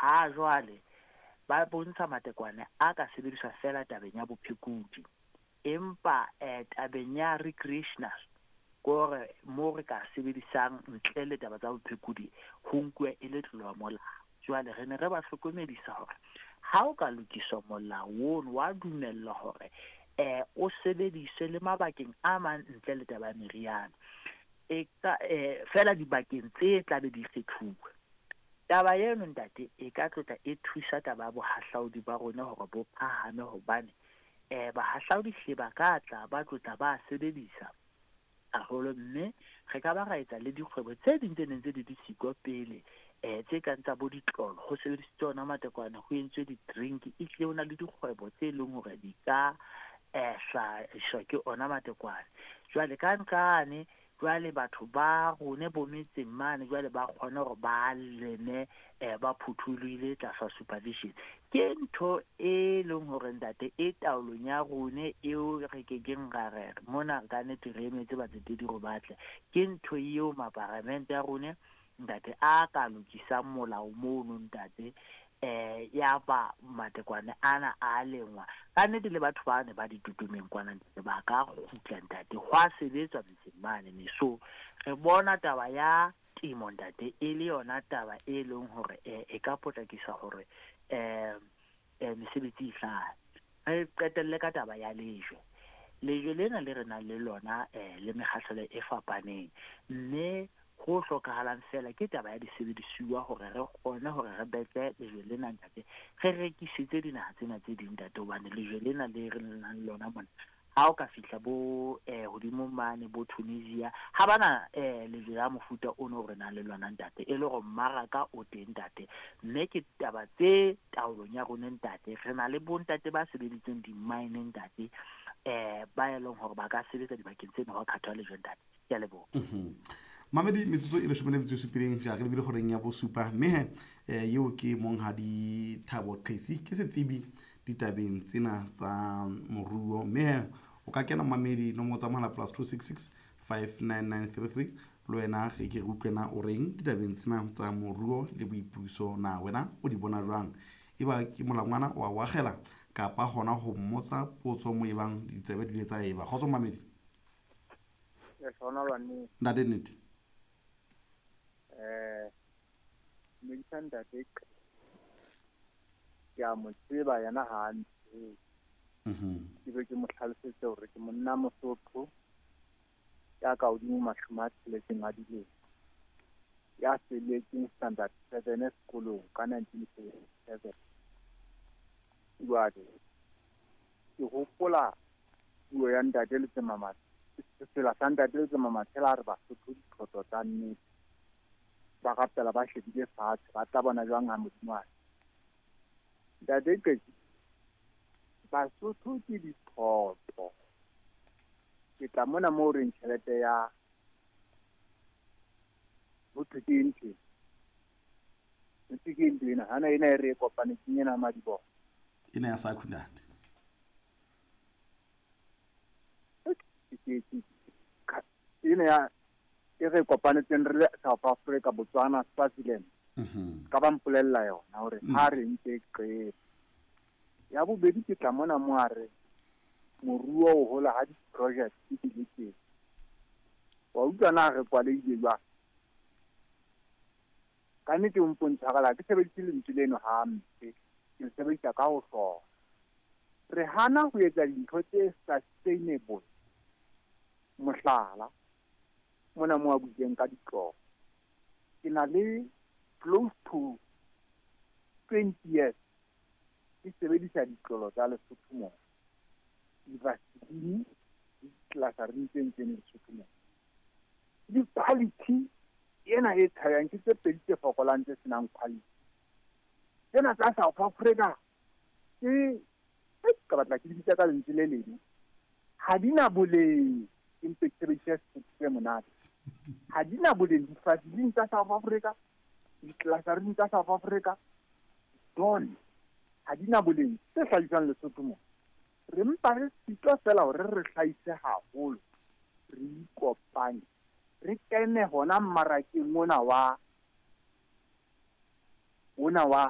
Ha jwale ba bontsha matekwane a ka sebediswa fela tabeng ya bophekodi, empa tabeng ya recreational, ke hore mo re ka sebedisang ntle le taba tsa bophekodi, ho nkuwa e le tlolo ya molao. Jwale re ne re ba hlokomedisa hore ha o ka lokiswa molao ono, wa dumellwa hore o sebediswe le mabakeng a mang ntle le taba ya meriana, e ka fela dibakeng tse tlabe di kgethuwe. Taba eno, ntate, e ka tlotla e thusa taba ya bohahlaudi ba rona hore bo phahame, hobane bahahlaudi hle ba ka tla ba tlotla ba sebedisa haholo, mme re ka ba ra etsa le dikgwebo tse ding tse neng tse di di siko pele, tse kang tsa bo ditlolo, ho sebedisitswe ona matekwane, ho entswe di-drink. Ehlile ho na le dikgwebo tse leng hore di ka hlahiswa ke ona matekwane. Jwale ka nqane jwale batho ba rone bo metseng mane jwale ba kgone hore ba leme ba phuthulohile tlasa supervision. Ke ntho e leng hore, ntate, e taolong ya rone eo re kekeng ra re mona ka nnete re emetse batsetedi hore ba tle. Ke ntho eo maparamente a rone, ntate, a ka lokisang molao mono, ntate, ya ba matekwane ana a lengwa ka nnete, le batho ba ne ba ditutumeng kwana, ntate, ba ka kgutla, ntate, hwa sebetswa metseng mane. Ne so re bona taba ya temo, ntate, e le yona taba e leng hore e ka potlakisa hore mesebetsi e hlahe. Re qetelle ka taba ya lejwe. Lejwe lena le re nang le lona le mekgahlelo e fapaneng, mme ho hlokahalang fela ke taba ya disebedisuwa hore re kgone hore re betle lejwe lena, ntate, re rekisetse dinaha tsena tse ding, ntate, hobane lejwe lena le re nang le lona mona, ha o ka fihla bo hodimo mane bo Tunisia, ha bana lejwe la mofuta ono re nang le lona, ntate, e le hore mmaraka o teng, ntate. Mme ke taba tse taolong ya rona, ntate. Re na le bontate ba sebeditseng di-mine, ntate, ba e leng hore ba ka sebetsa dibakeng tsena hwa khathwa lejwe, ntate. Ke a leboha. Mamedi, metsotso e 17 ja re lebile goreng ya bosupa, mme he eo ke monghadi Thabo Qesi, ke setsebi ditabeng tsena tsa moruo. Mme he o ka kena, mamedi, nomoro tsa mohala +266 59933. Le wena re ke re utlwena o reng ditabeng tsena tsa moruo le boipuso. Na wena o di bona jwang? E ba ke molangwana wa o akgela kapa hona ho mmotsa potso mo e bang ditsebe di ile tsa eba kgotso, mamedi. Ntate, nnete. Dumedisa, ntate. Ke a mo tseba yena ha a ntsebe. Ke be ke mo hlalosetse hore ke monna Mosotho ya ka hodimo 60 a dilemo, ya felletseng standard 7 sekolong ka 1977. Jwale ke hopola puo ya ntate Letsemama, sefela sa ntate Letsema Matshela, a re Basotho dithoto tsa nnete, ba rapela ba shebile fatshe, ba tla bona jwang ha Modimo a ntate Qetsi. Basotho ke dithoto. Ke tla mona moo reng tjhelete ya ho thwe ke ntho ntse ke ntho ena hana ena e re e kopanetseng ena madiboho. Ena ya SACU, ntate. Ena ya e re kopanetseng re le South Africa, Botswana, Swaziland, ka ba mpolella yona hore ha re ntse qete. Ya bobedi, ke tla mona mo a re moruo o hola ha di-project di le teng. Wa utlwa na re kwalehile jwang? Ka nnete o mpontshwarela, ke sebedise lentswe leno hampe, ke le sebedisa ka ho hloka. Re hana ho etsa dintho tse sustainable. Mohlala, mona mo a buileng ka ditlolo, ke na le close to 20 years ke sebedisa ditlolo tsa Lesotho mona, di-Vaseline le di-glycerin tse ntseng Lesotho mona. Di-quality ena e tshabehang ke tse pedi tse fokolang tse senang quality. Tsena tsa South Africa ke ka batla ke di bitsa ka lentswe le leng, ha di na boleng. Empe ke sebedise Sesotho se monate, ha di na boleng. Di-Vaseline tsa South Africa, di-glycerin tsa South Africa, don ha di na boleng. Tse hlahiswang Lesotho mona, re mpa re sitwa fela hore re hlahise haholo, re ikopanye, re kene hona mmarakeng ona wa ona wa